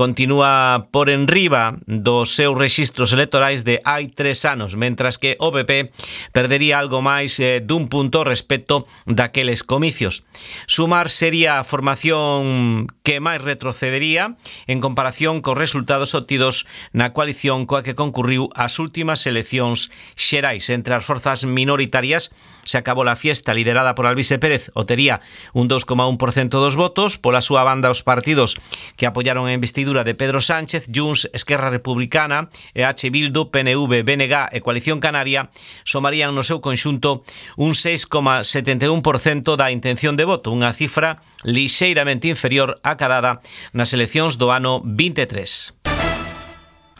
continúa por enriba dos seus rexistros electorais de hai 3 anos, mentras que o PP perdería algo máis dun punto respecto daqueles comicios. Sumar sería a formación que máis retrocedería en comparación cos resultados obtidos na coalición coa que concurriu as últimas eleccións xerais. Entre as forzas minoritarias se acabou a fiesta liderada por Alvise Pérez, obtería un 2,1% dos votos. Pola súa banda, os partidos que apoyaron a investidura de Pedro Sánchez, Junts, Esquerra Republicana, EH Bildu, PNV, BNG e Coalición Canaria somarían no seu conxunto un 6,71% da intención de voto, unha cifra lixeiramente inferior á cadada nas eleccións do ano 23.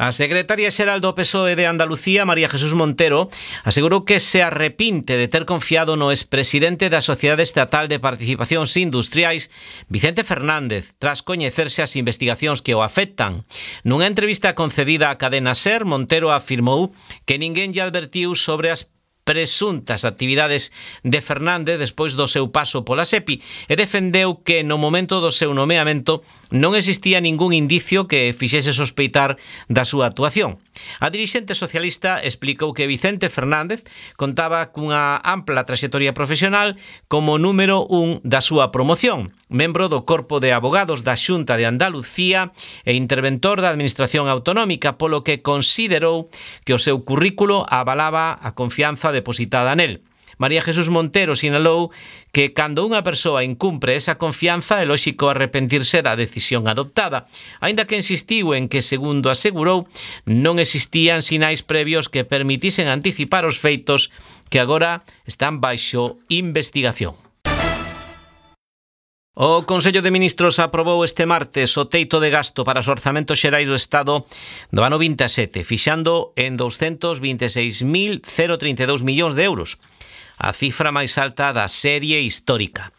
A secretaria xeral do PSOE de Andalucía, María Jesús Montero, asegurou que se arrepinte de ter confiado no expresidente da Sociedade Estatal de Participacións Industriais, Vicente Fernández, tras coñecerse as investigacións que o afectan. Nunha entrevista concedida á cadena SER, Montero afirmou que ninguén lle advertiu sobre as presuntas actividades de Fernández despois do seu paso pola SEPI e defendeu que no momento do seu nomeamento non existía ningún indicio que fixese sospeitar da súa actuación. A dirixente socialista explicou que Vicente Fernández contaba cunha ampla traxectoria profesional como número 1 da súa promoción, membro do Corpo de Abogados da Xunta de Andalucía e interventor da Administración Autonómica, polo que considerou que o seu currículo avalaba a confianza depositada nel. María Jesús Montero sinalou que cando unha persoa incumpre esa confianza é lóxico arrepentirse da decisión adoptada, aínda que insistiu en que, segundo asegurou, non existían sinais previos que permitisen anticipar os feitos que agora están baixo investigación. O Consello de Ministros aprobou este martes o teito de gasto para os orzamentos xerais do Estado do ano 27, fixando en 226.032 millóns de euros, a cifra máis alta da serie histórica.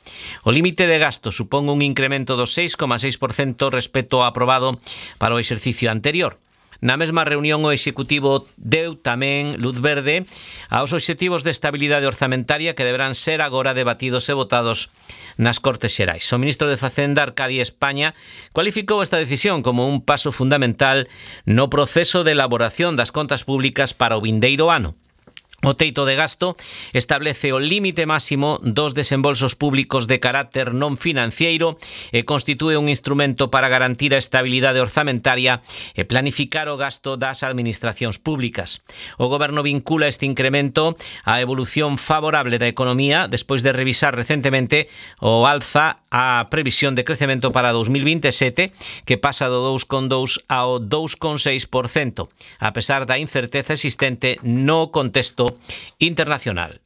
O límite de gasto supón un incremento do 6,6% respecto ao aprobado para o exercicio anterior. Na mesma reunión, o Executivo deu tamén luz verde aos obxectivos de estabilidade orzamentaria que deberán ser agora debatidos e votados nas Cortes Xerais. O ministro de Facenda, Arcadio España, cualificou esta decisión como un paso fundamental no proceso de elaboración das contas públicas para o vindeiro ano. O teito de gasto establece o límite máximo dos desembolsos públicos de carácter non financiero e constitúe un instrumento para garantir a estabilidade orzamentaria e planificar o gasto das administracións públicas. O Goberno vincula este incremento á evolución favorable da economía despois de revisar recentemente o alza a previsión de crecemento para 2027, que pasa do 2,2% ao 2,6%, a pesar da incerteza existente no contexto internacional.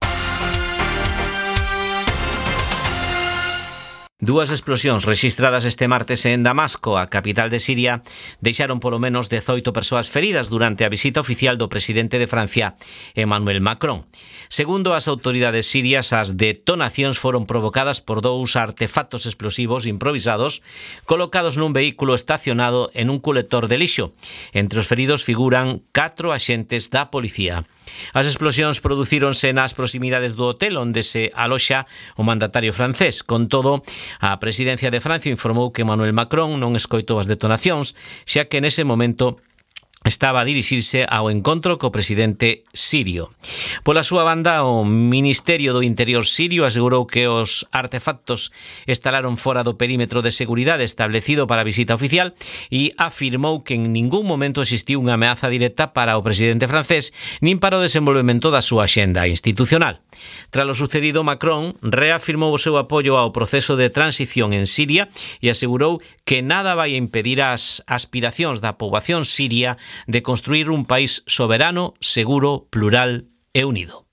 Dúas explosións rexistradas este martes en Damasco, a capital de Siria, deixaron polo menos 18 persoas feridas durante a visita oficial do presidente de Francia, Emmanuel Macron. Segundo as autoridades sirias, as detonacións foron provocadas por dous artefactos explosivos improvisados colocados nun vehículo estacionado en un colector de lixo. Entre os feridos figuran 4 axentes da policía. As explosións producíronse nas proximidades do hotel onde se aloxa o mandatario francés. Con todo, a presidencia de Francia informou que Emmanuel Macron non escoitou as detonacións, xa que nese momento estaba a dirixirse ao encontro co presidente sirio. Pola súa banda, o Ministerio do Interior sirio asegurou que os artefactos instalaron fora do perímetro de seguridade establecido para a visita oficial e afirmou que en ningún momento existiu unha ameaza directa para o presidente francés nin para o desenvolvemento da súa axenda institucional. Tras o sucedido, Macron reafirmou o seu apoio ao proceso de transición en Siria e asegurou que nada vai impedir as aspiracións da poboación siria de construir un país soberano, seguro, plural e unido.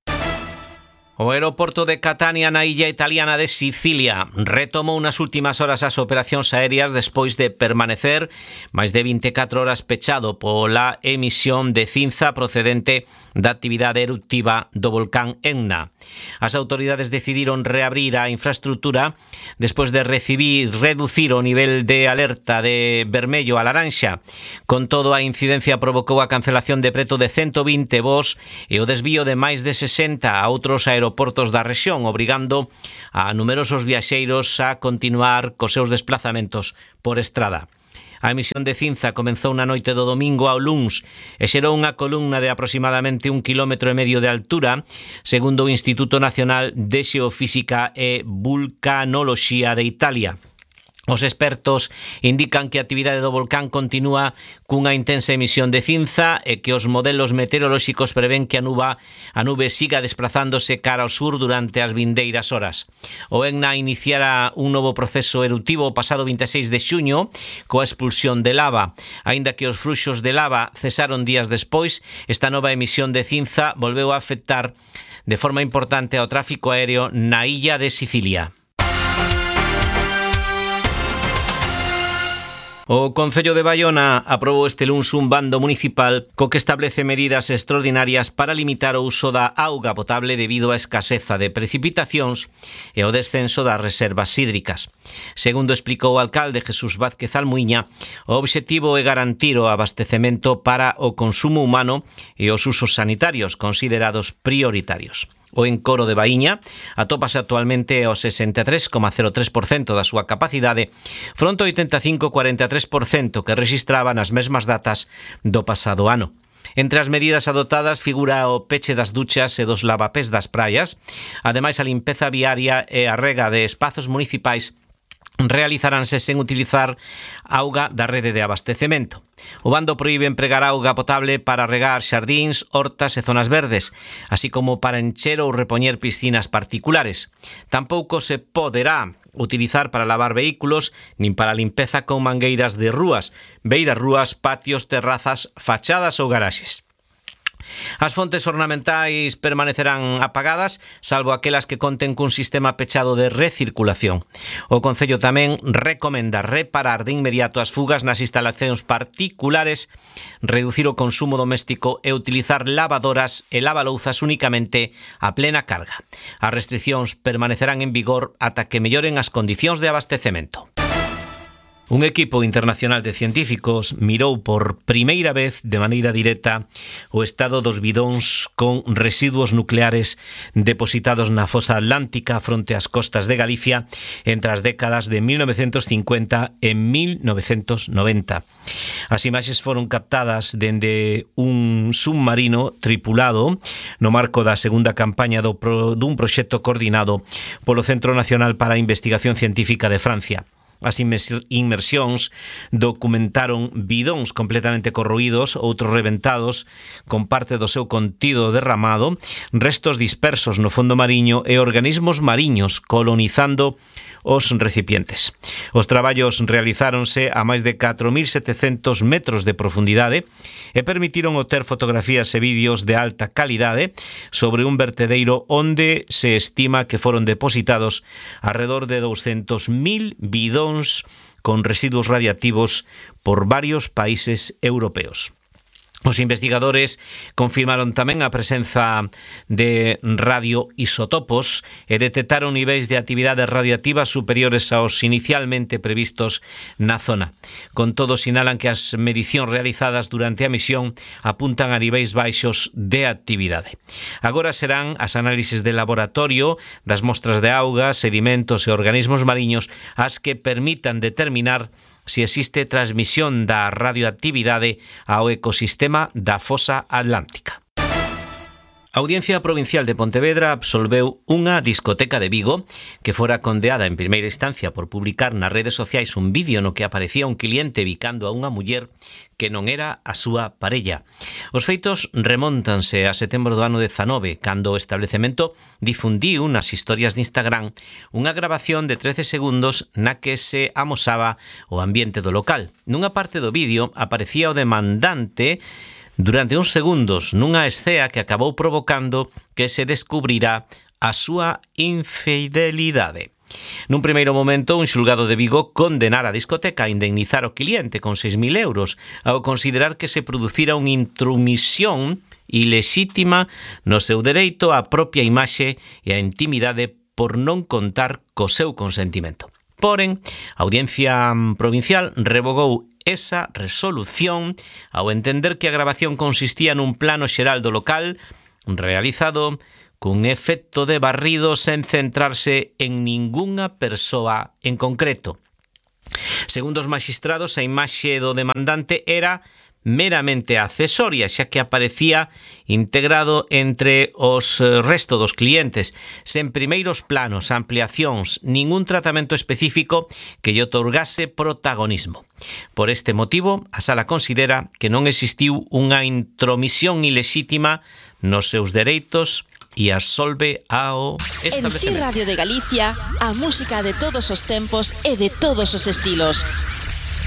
O aeroporto de Catania na illa italiana de Sicilia retomou nas últimas horas as operacións aéreas despois de permanecer máis de 24 horas pechado pola emisión de cinza procedente da actividade eruptiva do volcán Etna. As autoridades decidiron reabrir a infraestructura despois de reducir o nivel de alerta de vermello a laranxa. Con todo, a incidencia provocou a cancelación de preto de 120 voos e o desvío de máis de 60 a outros aeroportos da rexión, obrigando a numerosos viaxeiros a continuar cos seus desplazamentos por estrada. A emisión de cinza comezou na noite do domingo ao luns e xerou unha columna de aproximadamente 1,5 km de altura, segundo o Instituto Nacional de Xeofísica e Vulcanoloxía de Italia. Os expertos indican que a actividade do volcán continúa cunha intensa emisión de cinza e que os modelos meteorolóxicos prevén que a nube siga desplazándose cara ao sur durante as vindeiras horas. O ENNA iniciara un novo proceso eruptivo o pasado 26 de xuño coa expulsión de lava. Aínda que os fluxos de lava cesaron días despois, esta nova emisión de cinza volveu a afectar de forma importante ao tráfico aéreo na illa de Sicilia. O Concello de Baiona aprobou este luns un bando municipal co que establece medidas extraordinarias para limitar o uso da auga potable debido á escaseza de precipitacións e ao descenso das reservas hídricas. Segundo explicou o alcalde Jesús Vázquez Almuiña, o obxectivo é garantir o abastecemento para o consumo humano e os usos sanitarios considerados prioritarios. O encoro de Baíña atópase actualmente ao 63,03% da súa capacidade, fronte ao 85,43% que rexistraba nas mesmas datas do pasado ano. Entre as medidas adoptadas figura o peche das duchas e dos lavapés das praias, ademais a limpeza viaria e a rega de espazos municipais realizaránse sen utilizar auga da rede de abastecemento. O bando proíbe empregar auga potable para regar xardíns, hortas e zonas verdes, así como para encher ou repoñer piscinas particulares. Tampouco se poderá utilizar para lavar vehículos nin para limpeza con mangueiras de rúas, beiras rúas, patios, terrazas, fachadas ou garaxes. As fontes ornamentais permanecerán apagadas, salvo aquelas que conten cun sistema pechado de recirculación. O Concello tamén recomenda reparar de inmediato as fugas nas instalacións particulares, reducir o consumo doméstico e utilizar lavadoras e lavalouzas únicamente a plena carga. As restricións permanecerán en vigor ata que melloren as condicións de abastecemento. Un equipo internacional de científicos mirou por primeira vez de maneira directa o estado dos bidóns con residuos nucleares depositados na fosa atlántica fronte ás costas de Galicia entre as décadas de 1950 e 1990. As imaxes foron captadas dende un submarino tripulado no marco da segunda campaña dun proxecto coordinado polo Centro Nacional para a Investigación Científica de Francia. As inmersións documentaron bidóns completamente corroídos, outros reventados con parte do seu contido derramado, restos dispersos no fondo mariño e organismos mariños colonizando os recipientes. Os traballos realizáronse a máis de 4.700 metros de profundidade e permitiron obter fotografías e vídeos de alta calidade sobre un vertedeiro onde se estima que foron depositados alrededor de 200.000 bidóns con residuos radiactivos por varios países europeos. Os investigadores confirmaron tamén a presenza de radioisotopos e detectaron niveis de actividades radioactivas superiores aos inicialmente previstos na zona. Con todo, sinalan que as medicións realizadas durante a misión apuntan a niveis baixos de actividade. Agora serán as análises de laboratorio das mostras de auga, sedimentos e organismos mariños as que permitan determinar se existe transmisión da radioactividade ao ecosistema da fosa atlántica. A Audiencia Provincial de Pontevedra absolveu unha discoteca de Vigo que fora condeada en primeira instancia por publicar nas redes sociais un vídeo no que aparecía un cliente bicando a unha muller que non era a súa parella. Os feitos remóntanse a setembro do ano 19, cando o establecemento difundiu nas historias de Instagram unha grabación de 13 segundos na que se amosaba o ambiente do local. Nunha parte do vídeo aparecía o demandante durante uns segundos nunha escea que acabou provocando que se descubrirá a súa infidelidade. Nun primeiro momento, un xulgado de Vigo condenara a discoteca a indemnizar o cliente con 6.000 euros ao considerar que se producira unha intromisión ilexítima no seu dereito á propia imaxe e á intimidade por non contar co seu consentimento. Porén, a Audiencia Provincial revogou esa resolución ao entender que a grabación consistía nun plano xeral do local realizado cun efecto de barrido sen centrarse en ningunha persoa en concreto. Segundo os maxistrados, a imaxe do demandante era meramente accesoria, xa que aparecía integrado entre os resto dos clientes, sen primeiros planos, ampliacións, ningún tratamento específico que lle outorgase protagonismo. Por este motivo, a Sala considera que non existiu unha intromisión ilexítima nos seus dereitos e absolve ao En Si Radio de Galicia, a música de todos os tempos e de todos os estilos.